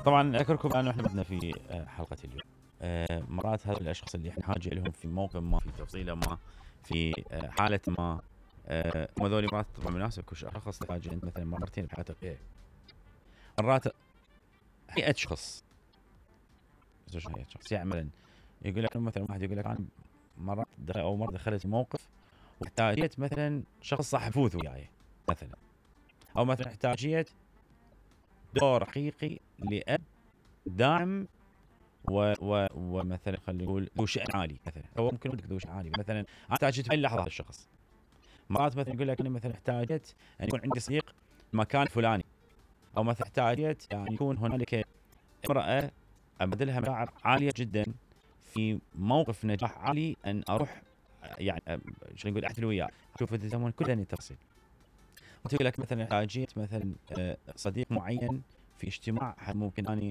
طبعا اذكركم انه احنا بدنا في حلقه اليوم. مرات هذول الاشخاص اللي احنا حاجه لهم في موقف ما، في تفصيله ما، في حاله ما، هم ذولي مرات طبعا مناسب كل شخص تحتاج انت مثلا مرتين بحياتك فيها. مرات هيئه شخص هيئه شخص يعمل، يقول لك مثلا واحد يقول لك انا مرات مره دخلت موقف واحتاجيت مثلا شخص صاحب فوز وياي مثلا، او مثلا احتاجيت دور حقيقي لأب داعم ومثلا خلينا نقول ذو شأن عالي مثلا، او ممكن بدك ذو شأن عالي مثلا. انا احتاجت في اللحظه هذا الشخص. مرات مثلا يقول لك انا مثلا احتاجت ان يكون عندي صديق مكان فلاني، او مثلا احتاجت يعني يكون هنالك امراه ابذلها مشاعر عاليه جدا في موقف نجاح عالي، ان اروح يعني شو نقول احتل وياه، اشوف الزمن كله يتصل. وتقول لك مثلا احتاجيت مثلا صديق معين في اجتماع ممكن اني